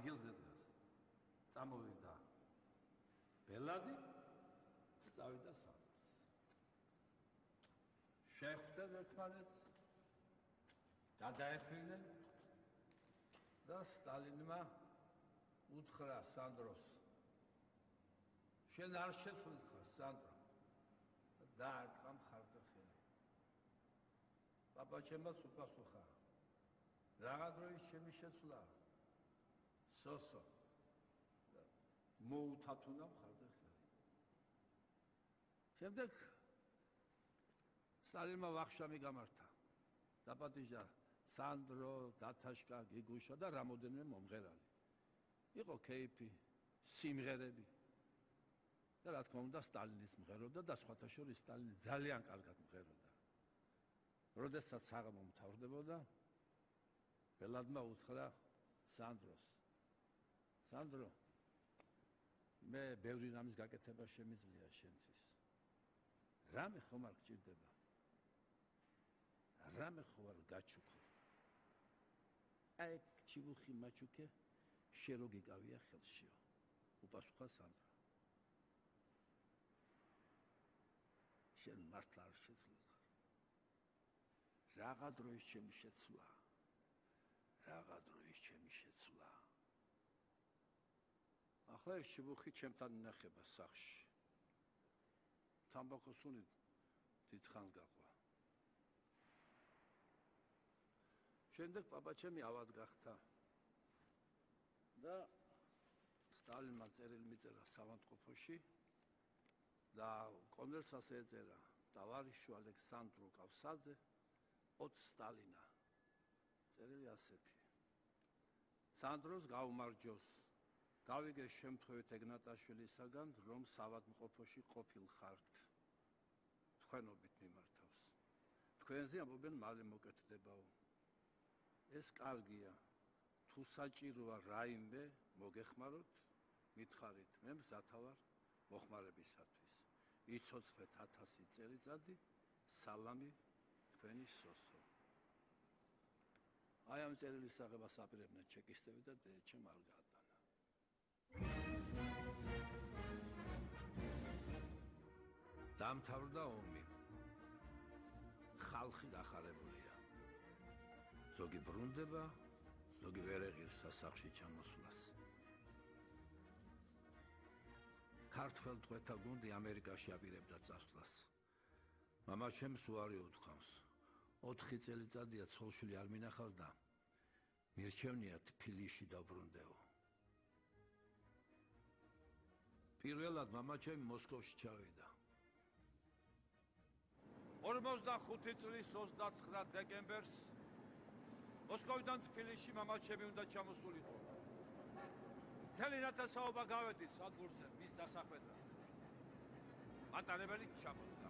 ადგილზე დგას. წამოვიდა ბელადი და წავიდა სანდროს. შეხვდნენ ერთმანეთს, გადაეხმნენ და სტალინმა უთხრა სანდროს, შენ არ შეცვლიხარ სანდრო, დაარტყა მხარზე ხელი. პაპაჩემაც უპასუხა, რაღა დროის ჩემი შეცვლა, სოსო, მოუთათუნა მხარზე ხელი. შემდეგ სტალინმა ვახშამი გამართა, დაპატიჟა სანდრო, დათაშკა, გიგუშა და რამოდენიმე მომღერალი. იყო კეიფი, სიმღერები. და რა თქმა უნდა სტალინის მღეროდა და სხვათა შორის სტალინი ძალიან კარგად მღეროდა. როდესაც საღამო მთავრდებოდა, ბელადმა უთხრა სანდროს, სანდრო, მე ბევრი რამის გაკეთება შემიძლია შენთვის. რამე ხომ არ გჭირდება? რამე ხო არ გაჩუქო? აი ჩიბუხი მაჩუქე, შენ რო გიკავია ხელშიო. უპასუხა სანდრო. შენ მართლა არ შეძლო. რაღა დროის ჩემი შეცვლა. რაღა დროის ჩემი შეცვლა. ახლა ეს ჩიბუხი ჩემთან ინახება სახლში. თამბაქოს უნი დიდხანს გაყვა. შემდეგ პაპაჩემი ავად გახდა და სტალინმა წერილი მიწერა საავადმყოფოში და კონვერტსაც ეწერა ტავარიშვ ალექსანდრო კავსაძე ოთ სტალინა. წერილი ასეთი. სანდროს გაუმარჯოს. გავიგე შემთხვევით ეგნატაშვილისაგან, რომ საავადმყოფოში ყოფილ ხართ. თქვენობით მიმართავს. თქვენზე ამბობენ მალე მოკეთდებაო. ეს კარგია. თუ საჭიროა რაიმე მოგეხმაროთ, მითხარით, მე მზათა ვარ მოხმარებისათვის. იცოცხლეთ 1000 წელიწადი, სალამი თქვენი სოსო. აი ამ წერილის აღებას აპირებდნენ ჩეკისტები და დედაჩემ არ გაატანა. დამთავრდა ომი. ხალხი გახარებულია. ზოგი ბრუნდება, ზოგი ვერ ეღირს სასახლში ჩამოსვლას. ქართველ ტყვეთა გუნდი ამერიკაში აპირებდა წასვლას. მამაჩემს უარი უთქვამს. 4 წელიწადია ცოლშვილი არ მინახავს და მირჩევნია თბილისში დაბრუნდეო. პირველად მამაჩემი მოსკოვში ჩავიდა. 45 წლის 29 დეკემბერს მოსკოვიდან თბილისში მამაჩემი უნდა ჩამოსულიყო. მთელი ნათესაობა გავედით სადგურზე მის დასახვედრად. მატარებელი ჩამოდგა.